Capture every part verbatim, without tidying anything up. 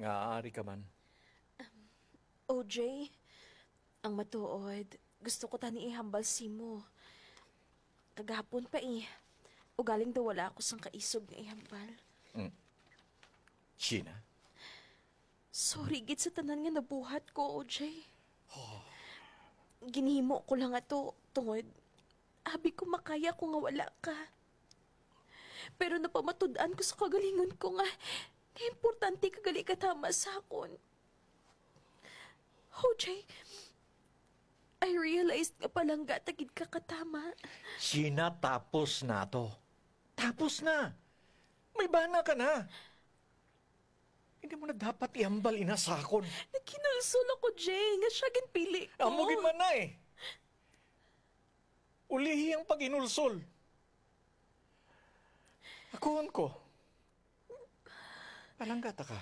Nga ari ka man. O J, ang matuod, gusto ko tani ihambal simo. Kagahapon pa eh. Ugaling daw wala ako sang kaisog nga ihambal. Mm. Sheena? Sorry gid sa tanan nga nabuhat ko, O J. Oh. Ginhimo ko lang ato tungod abi ko makaya ko nga wala ka. Pero napamatud-an ko sa kagalingon ko nga, nga importante ka gali katama sa akon. O J, I realized nga palangga ta gid ka katama. Sheena, tapos na to. Tapos na. May bana ka na. Hindi mo na dapat ihambal ina sa akon. Naghinulsol ako, Jay, nga siya ginpili ko. Amo gid man na eh. Ulihi ang paghinulsol. Akuhon ko. Palangga ta ka.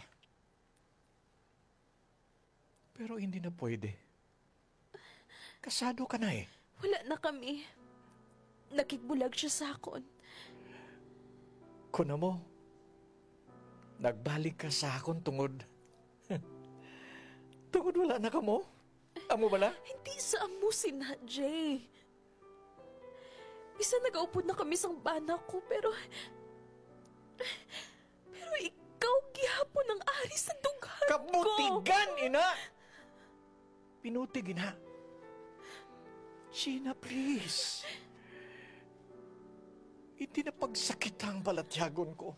Pero hindi na pwede. Kasado ka na eh. Wala na kami. Nakigbulag siya sa akon. Kuna mo, nagbalik ka sa akon tungod, tungod wala na kamo? Amo bala? Hindi sa amo sina, Jay. Bisan nagaupod na kami sang bana ko, pero, pero ikaw gihapon ang ari sa dughan ko. Kabutigan, ina! Pinutig, ina. Sheena, please. Hindi na pagsakita ang balatyagon ko.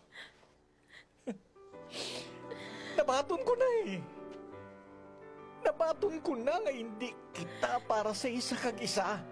Nabaton ko na eh. Nabaton ko na nga hindi kita para sa isa kag isa.